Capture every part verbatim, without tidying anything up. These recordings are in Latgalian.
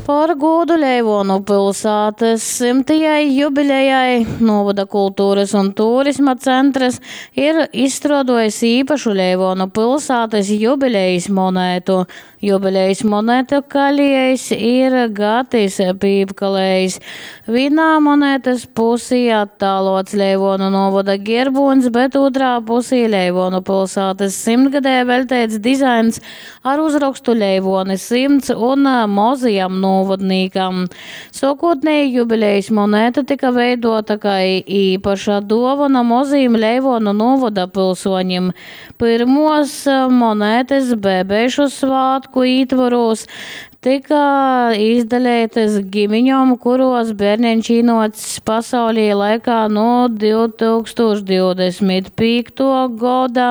Par gūdu Leivuonu pylsātys symtajai jubilejai nūvoda kulturys un turisma centrys ir izstruoduojs īpašu Leivuonu pylsātys jubilejis monētu. Jubilejis monetu kaliejs ir Gatis Pīpkalējs. Vīnā monetys pusī attāluots Leivuonu nūvoda gierbūņs, bet ūtrā pusī Leivuonu pylsātys symtgadei veļteits dizains ar uzrokstu Leivuoni symts un mozajam nūvodnīkam. Suokūtneji jubilejis moneta tyka veiduota kai īpaša duovona mozajim Leivuonu nūvoda pylsuonim. Pyrmuos monetys Bebeišu svātku ītvorūs tyka izdaleitys gimiņom, kuruos bierneņš īnuocs pasaulī laikā nu div tūkstūš divdesmit pīktuo goda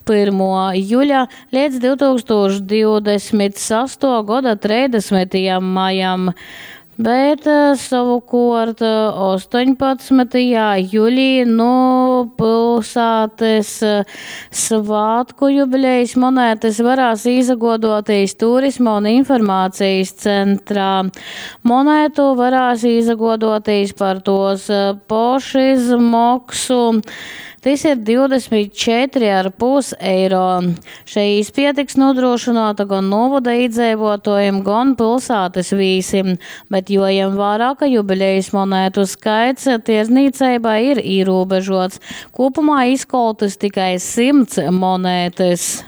pyrmuo juļa leidz div tūkstūš divdesmit sastuo goda treisdasmytajam majam. Bet sovukuort ostoņpadsmytajā julī nu pylsātys svātku jubilejis monetys varēs īsaguoduotīs Turisma un informācijas centrā. Monētu varēs īsaguoduotīs par tuos pošizmoksu. Tys ir divdesmit četri ar pus eiro. Šei īspieja tiks nūdrūšynuota gon nūvoda īdzeivuotuojim, gon pylsātys vīsim, bet juojem vārā, ka jubilejis monētu skaits tierdznīceibā ir īrūbežuots. Kūpumā izkoltys tikai symts monetys.